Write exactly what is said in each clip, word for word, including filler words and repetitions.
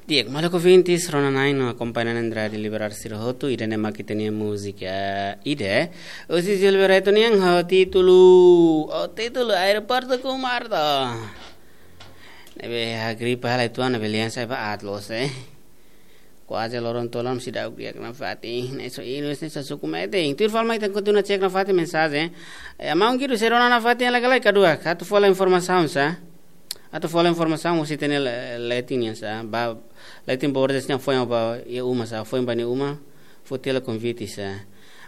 Di'ak, maluk ouvintes, rona-na'in no akompaña na'in-rua di liberar sira hotu, ida-ne'e mak ita-nia múzika ida, husi Gilberto nian, ho títulu, ho títulu Aeroportu Kumarto. Ne'ebé, a gripa halai tuan, ne'ebé lian sai ba atlos, eh. Kuaze loron tolu seidauk di'ak nafatin, ne'e só inus, ne'e só suku meeting. Tuir fali mai ita kontinua cek nafatin mensajen. Eh, maun Guido, sei rona nafatin hela ka lae, ka duak? Atu fó hela informasaun sá. Atu fó hela informasaun husi ita-nia le-, letin nian sá. Ba, letin bordes nian foin ba iha uma sá, foin ba nia uma, foti hela konvite sá.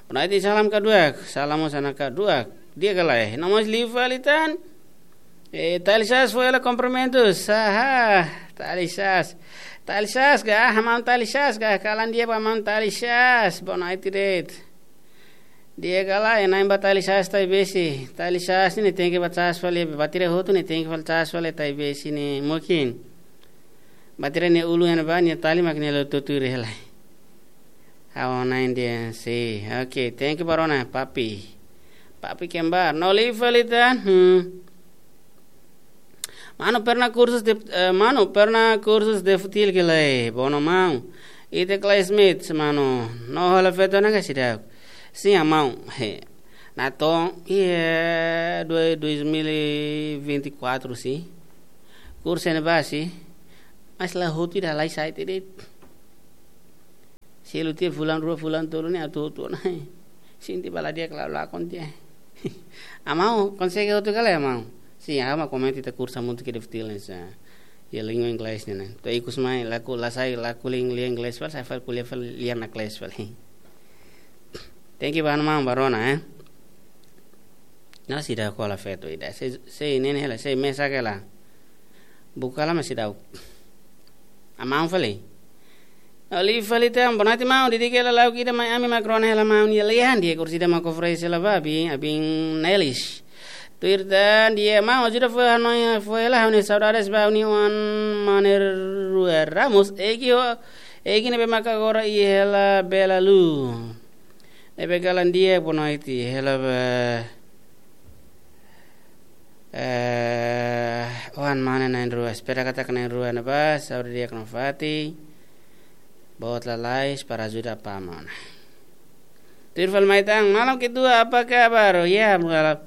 Bonoite, salam ka duak, salam mós ona ka duak. Di'ak ka lae? Nomós liu fali tan. Eh, Talisas fó hela kumprimentus. Aha, Talisas. Talisas ka, ah, maun Talisas ka, kalan di'ak ba maun Talisas. Bonoite de'it. Di'ak ka lae, na'in ba Talisas Taibesi. Talisas ne'e tenke ba cas fali, bateria hotu ne'e tenke fali cas fali Taibesi ne'e mungkin. Bateria nia ulun iha ne'ebá, nia tali mak nia la tutuir hela. Ha'u na'in de'it, sin. Oke, thank you ba rona, Papi. Papi Kembar, no liu fali tan. Hmm. Mano, pernah kursus de, eh, mano, pernah kursus de futsal ka lae? Bono maun. Ita classmate, mano. No hola feto na ka seidauk? Sin, maun. He. Natoon, iha dua, dois mil e vinte e quatro, sin. Kursu ne'ebá, sin. Mas la hotu ida lai sai tiha de'it. Selu tiha fulan rua, fulan tolu ne'e atu hotu ona. Sente ba la di'ak, la lakon tiha. Maun, konsege hotu ka lae, maun? Sin, ha'u mak komenta ita kursu hamutuk iha futsal ne'e sá. Iha língua inglés ne'e, ne'e. To'o ikus mai, la ku-, la sai, la ko'alia lia inglés fali, sai fali ko'alia fali lia nakles fali. Thank you ba maun ba rona, eh. No seidauk hola feto ida. Sei, sei ne'e hela, sei mesak hela. Buka la, mas seidauk. Maun fali. No liu fali tan, bonoite maun, didik hela lauk ida mai ami mak rona hela maun, iha lian di'ak, kursu ida mak oferese hela ba, abin, abin Nelis. Tuir tan, di'ak maun, ajuda fó hanoin, fó hela hanoin saudades ba ha'u-nia oan mane rua Ramos, Egi ho, Egi ne'ebé mak agora iha hela Belalu. Ne'ebé kalan di'ak, bonoite, hela ba. Eh, oan mane na'in-rua, espera katak na'in-rua ne'ebá, saúde di'ak nafatin. Boot lalais para ajuda apá mane. Tuir fali mai tan, malam ketua, apa kabar? Oh, ya, malam.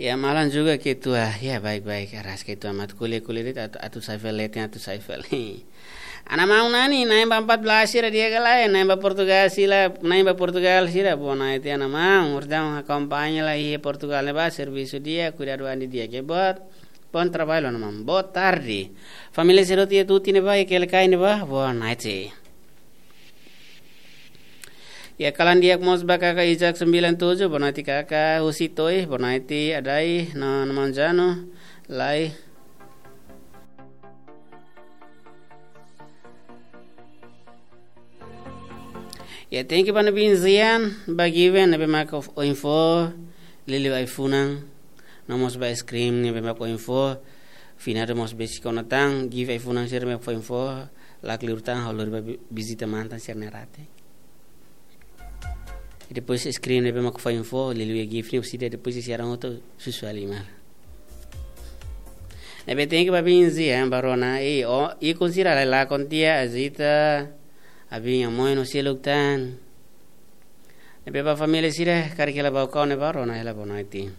Ya, malam juga ketua. Ya, baik-baik. Aras ketua mak ko'alia-ko'alia de'it atu, atu sai fali, atu sai fali. Ana maun nani, na'in ba empat belas sira di'ak ka lae, na'in ba Portugal sira, na'in ba Portugal sira, bonoite ana maun, urdang akompaña lai iha Portugal ne'ebá, servisu di'ak, kuidadu andi di'ak, ke boot, bom trabalho, ana maun, boa tarde. Família sira hotu iha Tuti ne'ebá, iha Quelicai ne'ebá, bonoite. Ya, kalan di'ak mós ba kaka Isaac sembilan tujuh, bonoite kaka, husi Toi, bonoite Adai, no, no maun Jano, lai. Ya, thank you ba ne'e bin Zian, ba Given, ne'ebé mak info, liuliu ai-funan, no mós ba screen, ne'ebé mak info, finado mós besik ona tan, Given ai-funan sira mak info, lakleur tan, ha'u lori ba vi-, vizita mantan sira-nia rate. I depois screen ne'ebé mak info, liuliu Given, husi ida depois sira hotu susua lima. Ne'ebé thank you ba bin Zian, ba rona, i, o, i kon sira lai lakon tiha, Azita, abin Amoy no seluk tan. Ne'ebé ba família sira, karik hela ba kau ne'ebá rona hela bonoite.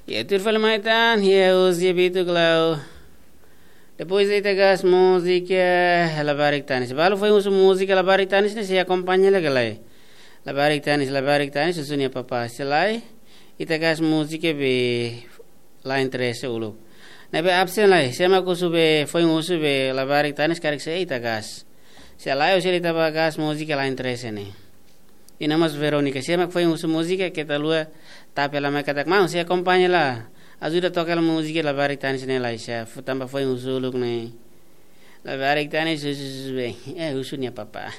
Ya, tuir fali mai tan, ya, husi Bitu Klau. Depois ita gás múzika, eh, Labarik Tanis. Balu foin husu múzika Labarik Tanis ne'e, sei akompaña hela ka lae? Labarik Tanis, Labarik Tanis, husu nia papá. Se lae, ita gás múzika be la interese uluk. Ne'ebé absen lai, sé mak husu be, foin husu be Labarik Tanis karik sei ita gás. Se lae, husi ita ba gás múzika la interese ne'e. I no mós Verónica, sé mak foin husu múzika, keta haluha tap hela mai katak, maun, sei akompaña hela. Ajuda toka hela múzika Labarik Tanis ne'e lai, sé, fó tanba foin husu uluk ne'e. Labarik Tanis husu, husu, husu be, eh, husu nia papá.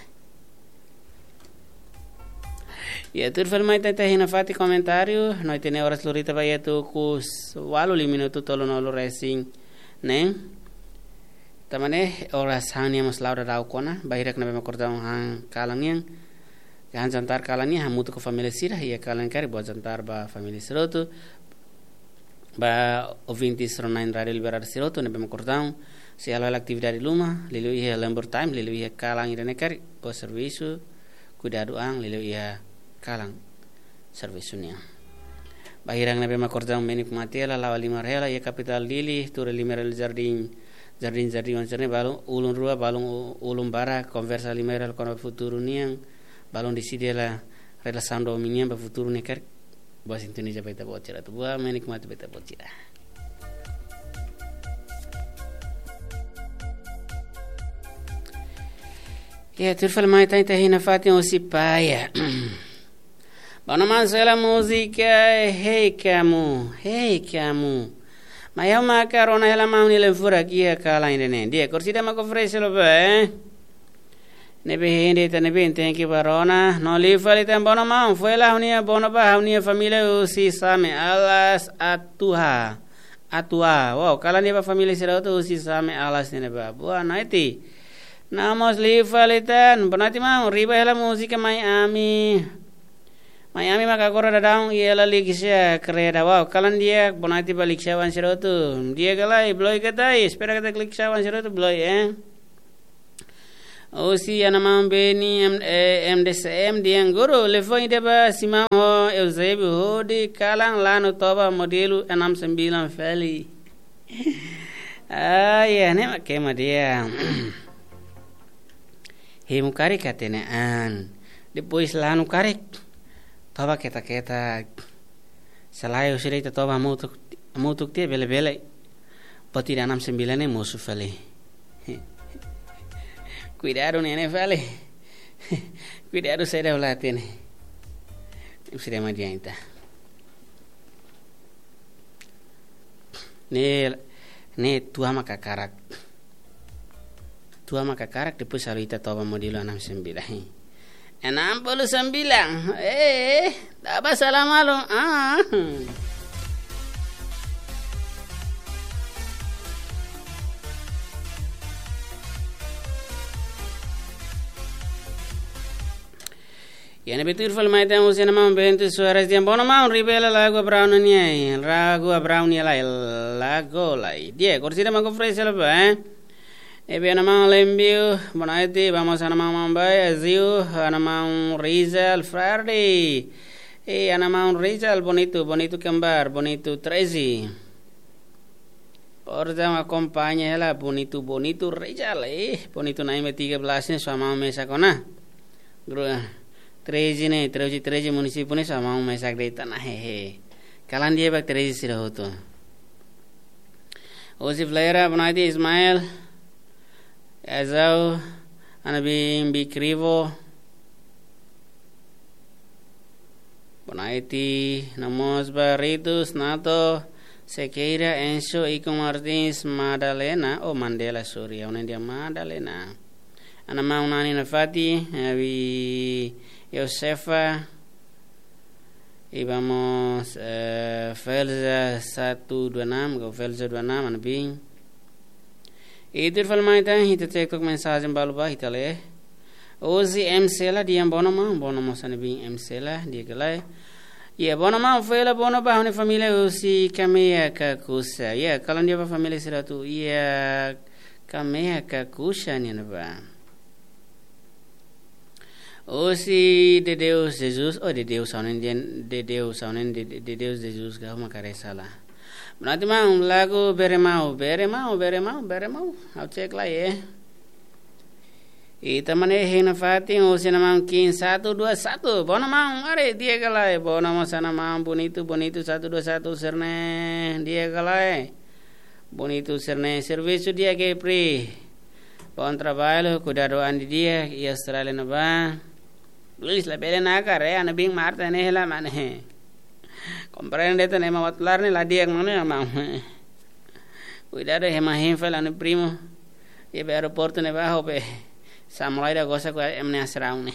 Ya, tuir fali mai tan, ita hein nafatin komentáriu, no ita-nia oras lori ita ba iha tuku s-, ualu, lima minutu tolunulu resin, ne'e? Tanba ne'e, oras han nian mós la'o daudaun ona, bainhira ne'ebé mak kordon han kalan nian, Hahán jantar kalan nian hamutuk ho família sira, iha kalan karik boa jantar ba família sira hotu. Ba ouvintes rona-na'in Rádiu Liberdade sira hotu ne'ebé mak kordaun sei halo hela atividade ruma, liuliu iha Lamber Time, liuliu iha kalan ida-ne'e karik, boa servisu, kuidadu an, liuliu iha kalan servisu nian. Ba hirak ne'ebé mak kordaun menik mate hela, la'o halimar hela iha kapitál Dili, tuur halimar hela jardín, jardín, jardín oan sira-ne'e, balun ulun rua, balun u-, ulun barak, konversa halimar hela kona-ba futuru nian, balun deside hela relasaun domin nian ba futuru ne'e karik. Boa sintonia ba ita-boot sira hotu. Boa menik mate ba ita-boot sira. Ya, tuir fali mai tan ita hein nafatin husi Paya. Bá no man sela múzika, Hei Kamu, Hei Kamu. Mai ha'u maka rona hela maun nia letra furak iha kalan ida-ne'e. Di'ak, orsida mak oferese lo ba, eh? Ne'ebé hein de'it ita ne'ebé tenke bá rona. No liu fali tan Bono maun, foin hela ha'u-nia bono ba ha'u-nia família husi Same Alas Atuha. Atuha. Wow, kalan di'ak ba família sira hotu husi Same Alas ne'ebá. Boa noite. No mós liu fali tan, boa noite maun, riba hela múzika Mai Ami. Mai Ami maka agora daudaun iha Lalixia, kreda. Wow, kalan di'ak, boa noite ba Lixia-oan sira hotu. Di'ak ka lae, beloi ka tai, espera katak Lixia-oan sira hotu beloi, eh? Husi Ana Maun Beni, M-, eh, M D C M, dehan guru, liafuan ida ba Simão ho Eusébio hodi kalan lanu toba modelu enam sembilan fali. Ah, ya, ne'e mak ema dehan. Hemu karik hatene an. Depois lanu karik. Toba ketak-ketak. Se lae husi de'it toba hamutuk, hamutuk tiha bele-bele. Buat ida enam sembilan ne'e mosu fali. Kuidadu ne'e ne'e fali. Kuidadu saida ha'u la hatene. Husi de'it mak dehan ita. Ne'e, ne'e tua maka karak. Tua maka karak, depois halo ita toba modelu enam sembilan. Enam puluh sembilan. Eh, tak apa salah malu. Ah. Iha ne'ebé tuir fali mai tan husi Ana Maun Bento Soares dehan Bono maun, riba hela lagu Abraão nian, lagu Abraão nian lai, lagu lai. Di'ak, orsida mak oferese lo ba, eh? Ne'ebé Ana Maun Lembio, boa noite, vamos Ana Maun Mambai, Aziu, Ana Maun Rizal, Friday. Eh, Ana Maun Rizal, bonito, bonito kembar, bonito treze. Portantu, akompaña hela bonito, bonito Rizal, eh, bonito na'in ba tiga belas ne'e sua maun mesak ona. Gru-, treze ne'e, treze, treze munisípiu ne'e sua maun mesak de'it ona, hehe. Kalan di'ak ba treze sira hotu. Husi Flera, boa noite, Ismael. Ezau, Ana Bimbi Krivo. Boa noite, no mós ba Ritus, Nato, Sequeira, Enzo, Icon Martins, Madalena, oh, Mandela, sorry, ha'u hanoin dehan Madalena. Ana Maun Nani Nafati, Abi Josefa, i vamos, eh, Felza satu dua enam, ka Felza dua enam, Ana Bim. I tuir fali mai tan, ita cek tok mensajen balu ba, ita lee. Husi M Sela dehan Bono maun, Bono mós Ana Bim M Sela, di'ak ka lae. Iha Bono maun, foin hela bono ba ha'u-nia família husi Kamea Kakusa. Iha, kalan di'ak ba família sira hotu iha Kamea Kakusa nian ba. Husi Dedeus Jesus, oh, Dedeus ha'u hanoin dehan, Dedeus ha'u hanoin de, de, Dedeus Jesus ka ha'u mak haree sala. Boa noite maun, lagu Bere Mau, Bere Mau, Bere Mau, Bere Mau. Ha'u cek lai, eh. Ita mane hein nafatin, husi Ana Maun Kim satu dua satu. Bono maun, are di'ak ka lae, Bono mós Ana Maun bonito, bonito satu dua satu sira-ne'e, di'ak ka lae. Bonito sira-ne'e, servisu di'ak ka pri. Bom trabalho, kuidadu an didi'ak, iha Austrália ne'ebá. Please, labele nakar, eh, Ana Bim Marta ne'e hela mane. Komprende tan ema watular ne'e la di'ak mane, maun. Kuidadu ema hein fali ha'u-nia primu. Iha be aeroportu ne'ebá ho be. Samulai da gosa ko em ne asraun ne'e.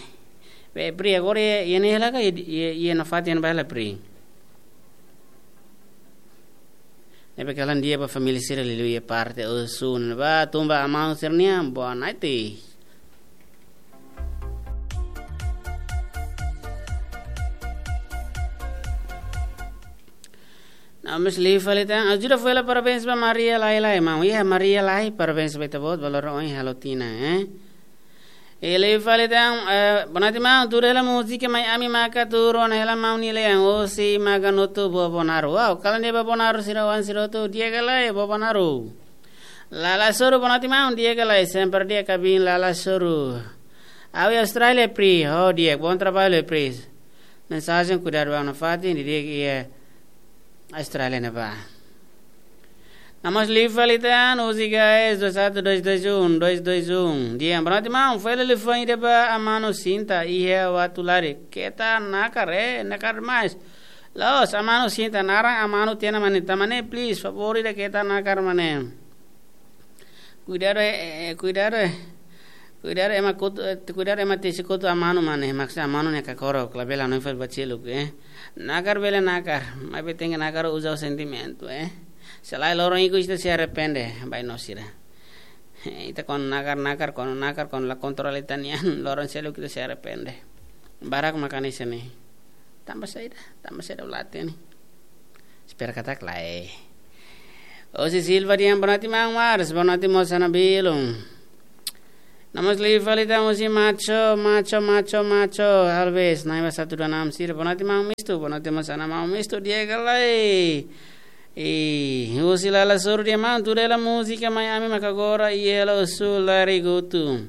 Be pri agora iha, iha ne'e hela ka iha, iha, iha nafatin ba hela pri. Ne'ebé kalan di'ak ba família sira liuliu iha parte Oecusse ne'ebá, tun ba Amau sira-nian, boa noite. Amis liu fali tan, ajuda fela parabéns ba Maria Lai Lai, maun. Iha Maria Lai, parabéns ba ita-boot, ba loron ohin halo tinan, eh. I liu fali tan, eh, boa noite, maun, tuur hela múzika Mai Ami maka tuur ona hela maun nia lian, hosi Maganutu Bobonaro. Wow, kalan di'ak ba Bobonaro sira oan sira hotu, di'ak ka lae Bobonaro. Lala Soru, boa noite, maun, di'ak ka lae, sempre di'ak ka biin Lala Soru. Ha'u iha Austrália, Pri, oh, di'ak, bom trabalho, Pri. Mensajen kuidadu ba nafatin, di'ak iha Austrália ne'ebá. Namas liu fali tan, hosi guys, dois satu dois dois um, dois dois um. Di'ak, boa noite, maun, fali liafuan ida ba Amanu Sinta, iha Uatulari. Keta nakar, eh, nakar mais. La'ós, Amanu Sinta, naran Amanu tiha ona mane, tan mane, please, favór ida keta nakar mane. Kuidadu, eh, eh, kuidadu, eh. Kuidadu ema kotu, eh, kuidadu ema tesi kotu Amanu mane, maksudnya Amanu ne'e kakorok, labele hanoin fali ba seluk, eh. Nakar bele nakar, maibé tenke nakar uza ho sentimentu, eh. Se lae loron ikus ita sei arrepende, ba ita-nia sira. Eh, ita kuandu nakar, nakar, kuandu nakar, kuandu la kontrola ita-nian, loron seluk ita sei arrepende. Barak mak hanesan ne'e. Tanba saida, tanba saida ulate ni. Espera katak lae. Hosi Silva dehan boa noite maun Mars, boa noite mós Ana Bilun. Namas liu fali tan hosi Macho, Macho, Macho, Macho, Alves, na'in ba satu dua enam sira, boa noite maun Mistu, boa noite mós Ana maun Mistu, di'ak ka lae. I, hosi Lala Soru dehan maun, tuur hela múzika Mai Ami maka agora, i hela Osu Larigutu.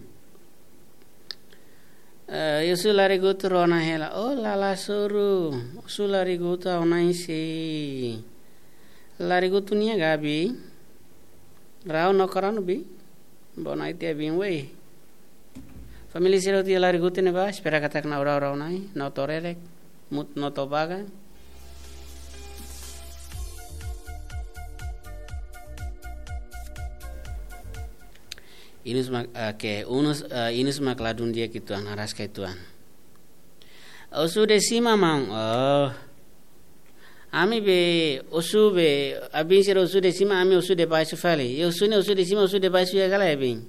Eh, Osu Larigutu rona hela. Oh, Lala Soru. Osu Larigutu ha'u na'in sei. Larigutu nia gabi. Rau no karanu bi. Boa noite, biin wei. Família sira hotu iha Larigutu ne'ebá, espera katak na'in rau rau nai, no torerek, mut no tobaga. Inus mak, eh, ke, unus, eh, inus mak ladún di'ak uitoan, araska uitoan. Osu de sima maun, oh. Ami be, osu be, abin sira osu de sima, ami osu de baixu fali. I osu ne'e osu de sima, osu de baixu iha ka lae abin.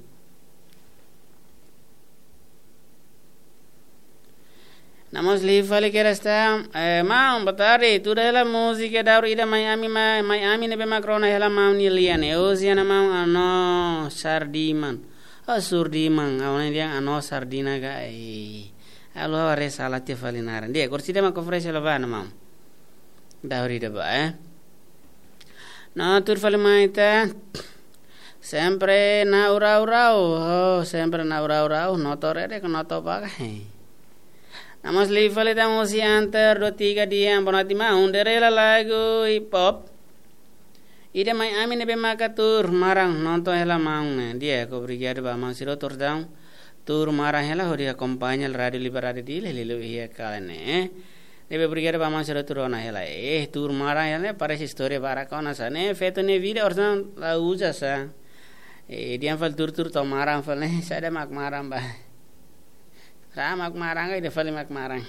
Namas liu fali kedas tan, eh, maun, boa tarde, tuur hela múzika daur ida Mai Ami, Mai, Mai Ami ne'ebé mak rona hela maun nia lian, eh, hosi Ana maun Ano Sardiman. Oh, Surdiman, ha'u hanoin dehan Ano Sardina ka, eh. Ha'u haree sala tiha fali naran. Di'ak, orsida mak oferese hela ba Ana maun. Daur ida ba, eh. No tuur fali mai ita. Sempre na'in rau rau. Oh, sempre na'in rau rau. No torerek, no tobaga. Namas liu fali tan hosi Anter dua tiga dehan, boa noite maun, tuur hela lagu hip hop ida Mai Ami ne'ebé maka tuur maran, nonton hela maun ne'e. Di'ak, obrigadu ba maun sira hotu, tuur maran hela hodi akompaña Rádiu Liberdade Dili, liuliu iha kalan ne'e. Ne'ebé obrigadu ba maun sira hotu rona hela. Eh, tuur maran hela ne'e, parese istória barak ona sá. Ne'e feto nia vida orsida la uza sá. Eh, dehan fali tuur tuur to'o maran fali ne'e, saida mak maran ba. Sá mak maran ka, ida fali mak maran.